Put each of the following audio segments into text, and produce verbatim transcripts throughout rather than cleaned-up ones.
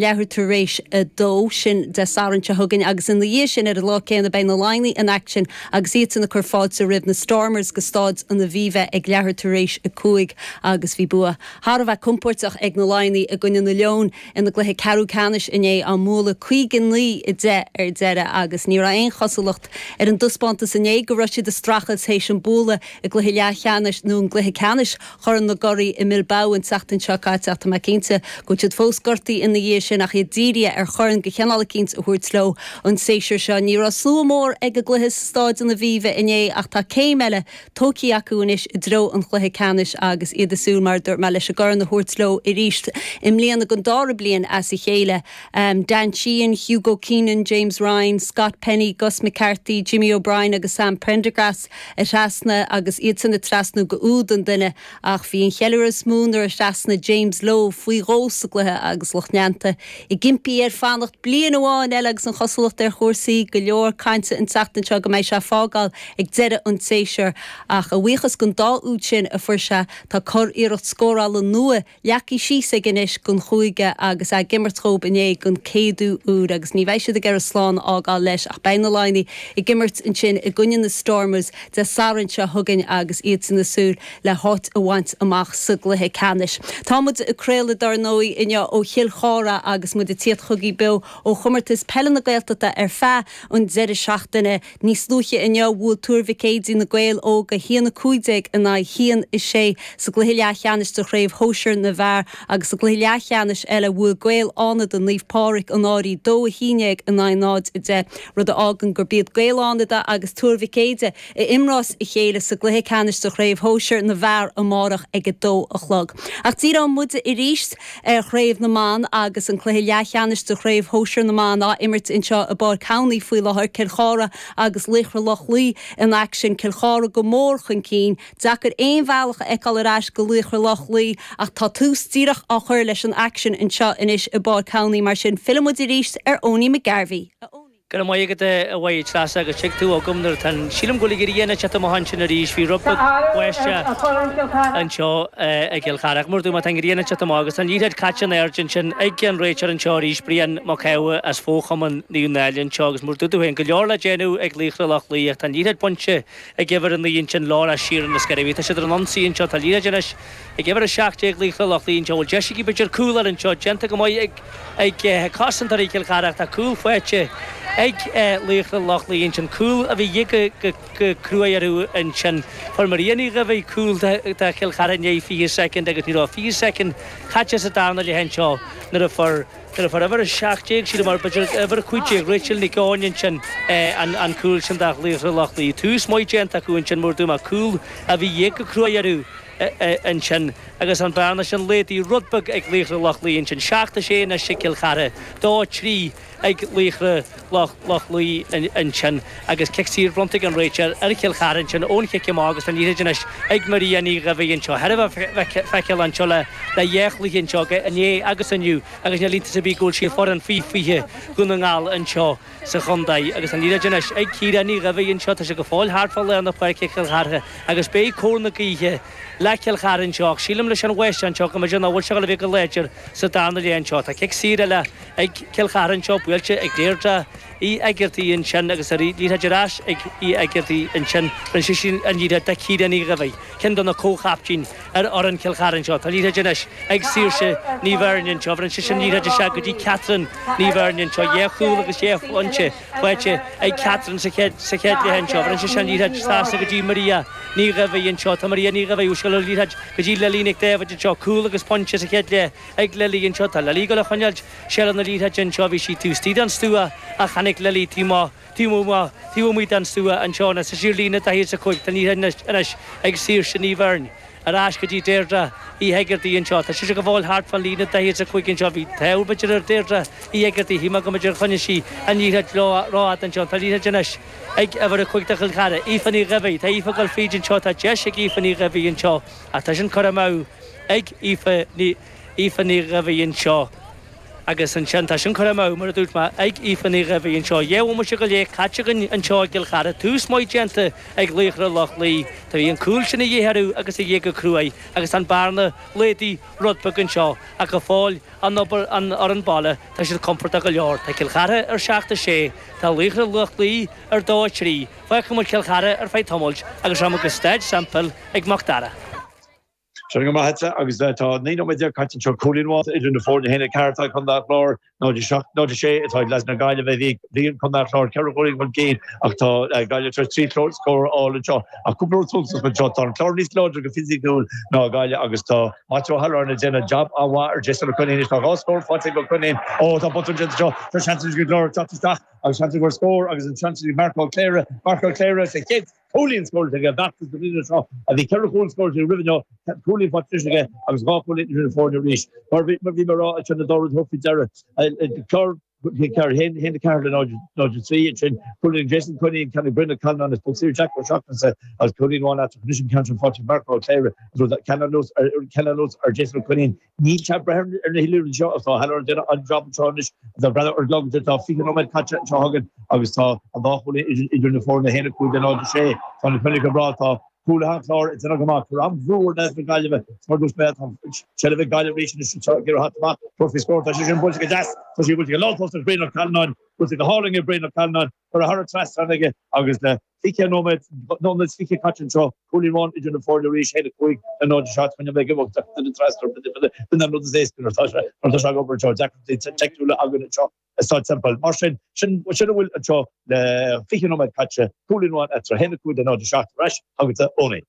leathuair tar éis a dó sin Dé Sathairn seo chugainn agus ina dhiaidh sin ar an lá céanna beidh na Laighnigh in aicsean agus iadsan ag cur fáilte roimh na Stormers go Staid an Aviva ag leathuair tar éis a cúig agus bhí bua thar a bheith compordach ag na Laighnigh i gcoinne na Leon ina gcluiche ceathrú ceannais inné á mbualadh caoga naoi a deich ar deireadh agus ní raibh aon chosúlacht ar an dtaispeántas inné go raibh siad ag streachailt théis an bualadh i gcluiche leathcheannais nó an gcluiche ceannais Chorn na gCuraí i mBilbao an tseachtain seo caite ach tá mé cinnte go bhfuil siad fós gortaithe ina dhiaidh sin ach iad dírithe ar chorn de chineál eicínt a thabhairt leo an séasúr seo. Ní raibh slua mór ag an gcluiche sa Staid an Aviva inné ach tá céim eile tógtha acu anois i dtreo an chluiche ceannais agus iad ag súil mar dúirt mé leis an gcorn a thabhairt leo arís i mbliana don dara bliain as a chéile. Um, Dan Sheehan, Hugo Keenan, James Ryan, Scott Penny, Gus McCarthy, Jimmy O'Brien agus Sam Prendergast a thrasnaigh agus iad san ag trasnú go úd an duine ach bhí an cheiliúradh is mó nuair a thrasnaigh James Lowe faoi dhó sa gcluiche agus lucht leanta ag impí air fanacht bliain amháin eile agus an chosúlacht ar chúrsaí go leor cainte an tseachtain seo go mbeidh sé ag fágáil ag deireadh an tséasúir ach a bhuíochas don dá úd sin a fuair sé tá curiarracht scórála nua leagtha síos aige anois don chúige agus ag imirt dóibh inné don chéad uair agus ní bheidh siad ag iarraidh slán a fhágáil leis ach beidh na Laighnigh ag imirt ansin i gcoinne na Stormers Dé Sathairn seo chugainn agus iad san ag súil le háit a bhaint amach sa gcluiche ceannais. Tá muid ag craoladh dar ndóigh inniu ó Chill Chartha agus muid ag tíocht chugaibh beo ó chomórtas peile na Gaeltachta ar feadh an deireadh seachtaine. Níos luaithe inniu bhuail Tuar Mhic Éadaigh na Gaeil Óga a haon a cúig déag in aghaidh a haon a sé sa gcluiche leathcheannais de chraobh shóisir na bhfear agus sa gcluiche leathcheannais eile bhuail Gaeil Fhánada Naomh Pádraig an Fhairche dó a haon déag in aghaidh náid a deich, rud a fhágann gurb iad Gaeil Fhánada agus Tuar Mhic Éadaigh a imreos a chéile sa gcluiche ceannais de chraobh shóisir na bhfear amárach ag a dó a chlog. Ach díreoidh muid arís ar chraobh na mban agus an cluiche leathcheannais de chraobh shóisir na mban á imirt anseo i bPáirc Cowley faoi láthair Cill Chartha agus Laochra Loch Lao in aicsean Cill Chartha go mór chun cinn, deacair aon bhealach a fheiceáil ar ais go Laochra Loch Lao ach tá tús díreach á chur leis an aicsean anseo anois i bPáirc Cowley mar sin fillfimid arís ar Owenie McGarvey. Go raibh maith agat a mhaith Treasa agus tuig tú agam nuair tá sílim go bhfuil an ghrian ag teacht amach ansin arís bhí rud beag báistí anseo i gCill Chartha mar dúirt mé tá an ghrian ag teacht amach agus tá an liathróid caite in airde ansin ag an réiteoir anseo arís Brian Mac Aodha as Fóchumann Naomh Náille anseo agus mar dúirt tú féin go leor le déanamh ag Laochra Loch Lao ach tá an liathróid bainte ag uimhir a naoi ansin Laura Sheeran na Sceirí. Tá siad ar an ionsaí anseo tá liathróid anois ag uimhir a seacht déag Laochra Loch Lao anseo bhfuil deis aici b'fhéidir cúl ar anseo déanta go maith ag ag cosantóirí Chill Chartha tá cúl faighte ag Laochra Loch Lao ansin cúl a bhí go go cruaidh orthu ansin fuair Maria Ní Dhuibhigh cúl do Chill Chartha i ndiaidh fiche soicind agus ní raibh fiche soicind caite sa darna leath anseo nuair a fuair nuair a fuair uimhir a seacht déag sílim mar b'fhéidir uimhir a cúig déag Rachel Nic Eoin ansin an an cúl sin do Laochra Loch Lao tús maith déanta acu ansin mar dúirt mé cúl a bhí go cruaidh orthu ansin agus an bearna sin laghdaithe rud beag ag Laochra Loch Lao ansin seacht a sé anois ag Cill Chartha dó trí ag Laochra Loch Loch Lao ansin agus cic saor bronnta ag an réiteoir ar Chill Chartha ansin ón chic amach agus an liathróid anois ag Maria Ní Dhuibhigh anseo thar a bheith feiceáil anseo le le dhá chluiche anseo inné agus inniu agus níl iontas ar bith go bhfuil sí ar fhoireann faoi fiche Dhún na nGall anseo sa chontae agus an liathróid anois ag Ciara Ní Dhuibhigh anseo tá sé go fóill thart fá lár na páirce Cill Chartha agus beidh cóir na gaoithe le Cill Chartha anseo ach sílim leis an bháisteach anseo go mb'fhéidir nach bhfuil sé le bheith go láidir sa darna leath anseo tá cic saor eile ag Cill Chartha anseo buailte ag Deirdre Uí Éigeartaigh ansin agus ar liathróid ar ais ag Uí Éigeartaigh ansin rinne sí sin an liathróid do Ciara Ní Dhuibhigh ceann de na comhchaptaein ar fhoireann Chill Chartha anseo tá liathróid anois ag Saoirse Ní Bheirn anseo rinne sí sin liathróid isteach go dtí Catherine Ní Bheirn anseo dhá chúl agus dhá phointe faighte ag Catherine sa chéad sa chéad leath anseo rinne sí sin liathróid trasna go dtí Maria Ní Dhuibhigh anseo tá Maria Ní Dhuibhigh úscail liathróid go dtí Lily Nic David anseo cúl agus pointe sa chéad leath ag Lily anseo tá Lily go le choinneáil seilbh na liathróide anseo bhí sí taobh istigh den stua ach tháinig Lily taobh taobh taobh amuigh den stua anseo na sa siar líne daichead is a cúig tá liathróid anois ag Saoirse Ní Bheirn ar ais go dtí Deirdre Uí Éigeartaigh anseo tá sí go fóill thart fan líne daichead is a cúig anseo bhí taobh b'fhéidir ar Deirdre Uí Éigeartaigh shíl mé go mb'fhéidir choinnigh sí an liathróid rófhada anseo tá liathróid anois ag uimhir a cúig do Chill Chartha Aoife Ní Dhuibhigh tá Aoife ag dul fríd anseo tá deis ag Aoife Ní Dhuibhigh anseo ach tá sin curtha amú ag Aoife Ní Aoife Ní Dhuibhigh anseo. Agus ansin tá sin curtha amú, mar a dúirt mé, ag Aoife Ní Dhuibhigh anseo. Dhá bhomaite go leith caite againn anseo i gCill Chartha. Tús maith déanta ag Laochra Loch Lao. Tá bhí an cúl sin a dhíth orthu agus a dhíth go cruaidh agus an bearna laghdaithe rud beag anseo ach go fóill an obair an fhoireann baile tá siad compordach go leor. Tá Cill Chartha ar seacht a sé, tá Laochra Loch Lao ar dó a trí. Fágfaidh muid Cill Chartha ar feadh tamaill agus rachaidh muid go Staid Semple ag Mac Dara. Sin go maith agus tá naoi nóiméad déag caite anseo cúilín amháin idir na foirne haon a ceathair atá ag Contae an Chláir náid a seacht náid a sé atá ag leaids na Gaillimhe bhí bhí an Contae an Chláir ceithre chúilín chun cinn ach tá Gaillimh tar éis trí scór a fháil anseo ach cúpla rud suntasach anseo tá an Clár níos láidre go fisiciúil ná Gaillimh agus tá Maitiú Ó hAlláin ag déanamh jab an-mhaith ar Jason Ó Coinín tá dhá scór faighte ag Ó Coinín ó tá botún déanta anseo tá seans go Clár teacht isteach agus seans go scór agus an seans ag Mark Ó Cléire Mark Ó Cléire sa chéad Cúilín scóráilte aige b'fheachtas na bliana seo a bhí ceithre chúl scóráilte roimhe inniu, cúilín faighte anois aige agus dhá chúilín idir na foirne arís. Mar bhí mar bhí mé ag rá ansin an dá rud a thabhairt faoi deara, Clár ceathair haon haon a ceathair le náid náid a trí ansin cúilín Jason Coinín ceann ag Brian Ó Callanáin is poc saor Jack Ó Seachnasaigh agus cúilín amháin eatarthu anois an ceann sin faighte ag Mark Ó Cléire agus ceann anuas ar ceann anuas ar Jason Ó Coinín. Níl sé ag breith ar na hoiliúna seo agus tá O'Halloran ag déanamh an job anseo anois. Tá breathnú ar an gclog tá fiche nóiméad caite anseo againn agus tá an dá chúilín idir na foirne, a haon a cúig le náid a sé. Tá na coinníollacha go breá, tá cúlaithe an Chláir ag déanamh go maith. Cuir an-bhrú ar leaids na Gaillimhe. Mar dúirt mé, tá seilbh ag Gaillimh arís anois anseo ag iarraidh theacht amach. Tabhairt faoi scór. Tá sé sin buailte go deas. Tá sé buailte go lántost ag Brian Ó Callanáin. Buailte go hálainn ag Brian Ó Callanáin. Curtha thar an trasnán aige agus le fiche nóiméad, nóiméad is fiche caite anseo, cúilín amháin idir na foirne arís, a haon a cúig le náid a seacht, coinneoidh mé ag imeacht ach duine trasna b'in an rud is éasca nuair atá sé nuair atá sé ag obair anseo, deacrachtaí teicniúla againn anseo i Staid Semple. Mar sin, sin sin a bhfuil anseo le fiche nóiméad caite, cúilín amháin eatarthu, a haon a cúig le náid a seacht ar ais chugatsa Eoiní.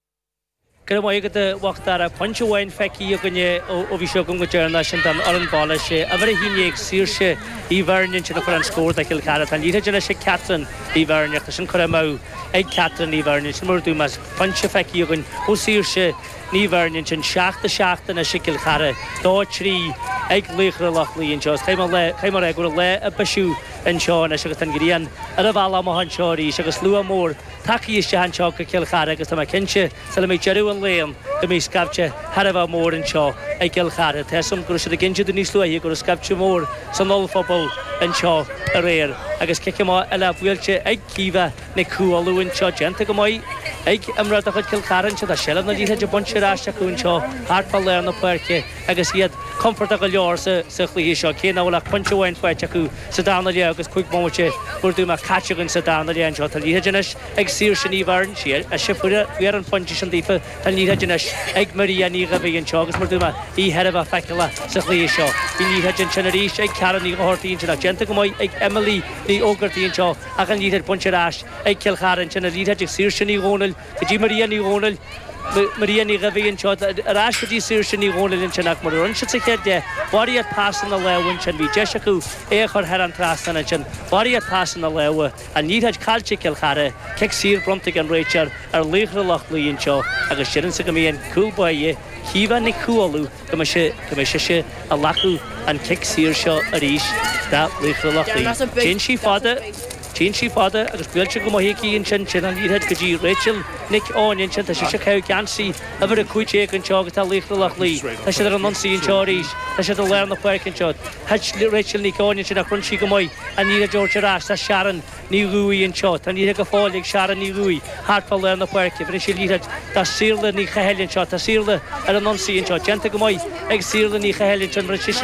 Go raibh maith agat a Mhac Dara. Pointe amháin feicthe againne ó bhí seo agam go deireanach, sin don fhoireann baile. Sé uimhir a haon déag Saoirse Uí Bheirn ansin a chuir an scór do Chill Chartha. Tá an liathróid anois ag Catherine Uí Bheirn ach tá sin curtha amú ag Catherine Uí Bheirn ansin mar a dúirt mé. Pointe feicthe againn ó Saoirse Ní Bheirn ansin. Seacht a seacht anois ag Cill Chartha, dó a trí ag Laochra Loch Lao anseo. Is caithfidh mé caithfidh mé a rá go bhfuil an lá ag bisiú anseo anois agus tá an ghrian ar a bhealach amach anseo arís agus slua mór tagtha isteach anseo go Cill Chartha agus tá mé cinnte sula mbeidh deireadh an lae ann go mbeidh scaifte thar a bheith mór anseo i gCill Chartha. Tá 'fhios a'm go raibh siad ag inse dúinn níos luaithe go raibh scaifte mór san ollphuball anseo aréir agus cic amach eile buailte ag Caoimhe Nic Cumhaill anseo déanta go maith ag imreoir de chuid Chill Chartha anseo. Tá seilbh na liathróide bainte ar ais acu anseo thart fá lár na páirce agus iad compordach go leor sa chluiche seo, cé nach bhfuil ach pointe amháin faighte acu sa darna leath agus cúig bomaite mar a dúirt mé caite againn sa darna leath anseo. Tá an liathróid anois ag Saoirse Ní Bheirn, sí ise a fuair an pointe sin daofa. Tá an liathróid anois ag Maria Ní Dhuibhigh anseo agus mar a dúirt mé, í thar a bheith feiceálach sa chluiche seo. Bhí an liathróid ansin arís ag Ceara Ní Dhochartaigh ansin ach déanta go maith ag Emily Ní Ógartaigh anseo ach an liathróid bainte ar ais ag Cill Chartha ansin. An liathróid ag Saoirse Ní Dhomhnaill go dtí Maria Ní Dhomhnaill. Maria Ní Dhuibhigh anseo ar ais go dtí Saoirse Ní Dhomhnaill ansin ach mar a rinne siad sa chéad leath, barraíocht pasanna láimhe ansin, bhí deis acu é a chur thar an trasnán ansin, barraíocht pasanna láimhe, an liathróid caillte ag Cill Chartha, cic saor bronnta ag an réiteoir ar Laochra Loch Lao anseo agus deirimse go mbeidh an cúl báire, Caoimhe Nic Cumhaill, go mbeidh sé, go mbeidh sise ag glacadh an cic saor seo arís do Laochra Loch Lao. Téann sí fada. Téann sí fada agus buailte go maith aici ansin, sin an liathróid go dtí Rachel Nic Eoin ansin. Tá sise ag caitheamh geansaí uimhir a cúig déag anseo agus tá Laochra Loch Lao. Tá siad ar an ionsaí anseo arís. Tá siad i lár na páirce anseo. Thit Rachel Nic Eoin ansin ach rinne sí go maith an liathróid a thabhairt ar ais. Tá Sharon Ní Dhubhaigh anseo. Tá an liathróid go fóill ag Sharon Ní Dhubhaigh thart fá lár na páirce. Bheireann sí an liathróid do Saorla Ní Chathail anseo. Tá Saorla ar an ionsaí anseo. Déanta go maith ag Saorla Ní Chathail ansin. Bheireann sise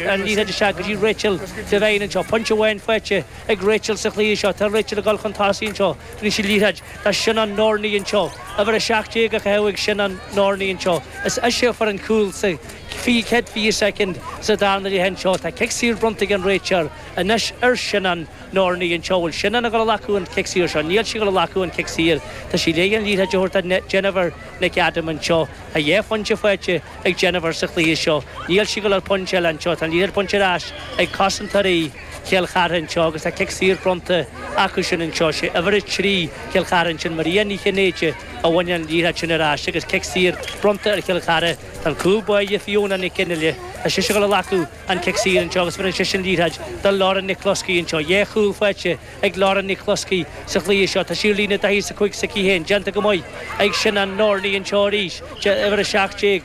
an liathróid isteach go dtí Rachel Devine anseo. Pointe amháin faighte ag Rachel sa chluiche seo. Tá Rachel ag dul chun tosaigh anseo. Bheireann sí an liathróid do Sinéad Norney anseo. Uimhir a seacht déag á caitheamh ag Sinéad Norney anseo. Is ise a fuair an cúl sa chéad fiche soicind sa darna leath anseo. Tá cic saor bronnta ag an réiteoir anois ar Sinéad Norney anseo. Bhfuil Sinéad ag dul a ghlacadh an cic saor seo? Níl sí ag dul a ghlacadh an cic saor. Tá sí le an liathróid a thabhairt do Jennifer Nic Adaim anseo. Tá dhá phointe faighte ag Jennifer sa chluiche seo. Níl sí ag dul ar phointe eile anseo. Tá an liathróid bainte ar ais ag cosantóirí Chill Chartha anseo agus tá cic saor bronnta acu sin anseo. Sé uimhir a trí Chill Chartha ansin, Maria Ní Chinnéide, a bhain an liathróid sin ar ais agus cic saor bronnta ar Chill Chartha. Tá an cúl báire Fiona Nic Fhionnghaile, tá sise ag dul a ghlacadh an cic saor anseo agus bheireann sise an liathróid do Lauren Nic Closkey anseo. Dhá chúl faighte ag Lauren Nic Closkey sa chluiche seo. Tá sí ar líne daithí is a cúig s'aici féin. Déanta go maith ag Sinéad Norney anseo arís, uimhir a seacht déag.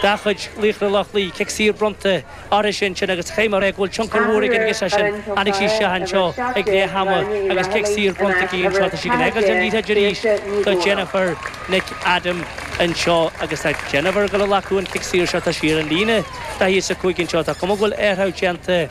de chuid Laochra Loch Lao, cic saor bronnta orthu sin sin agus chaith mé go bhfuil tionchar mhór ag an gcic sin. Tháinig sí isteach anseo ag leath ama agus cic saor bronnta aici anseo. Tá sí ag fágáil an liathróid arís do Jennifer Nic Adaim anseo agus tá Jennifer ag dul a ghlacadh an cic saor seo. Tá sí ar an líne daichead is a cúig anseo. Tá cuma go bhfuil athrú déanta.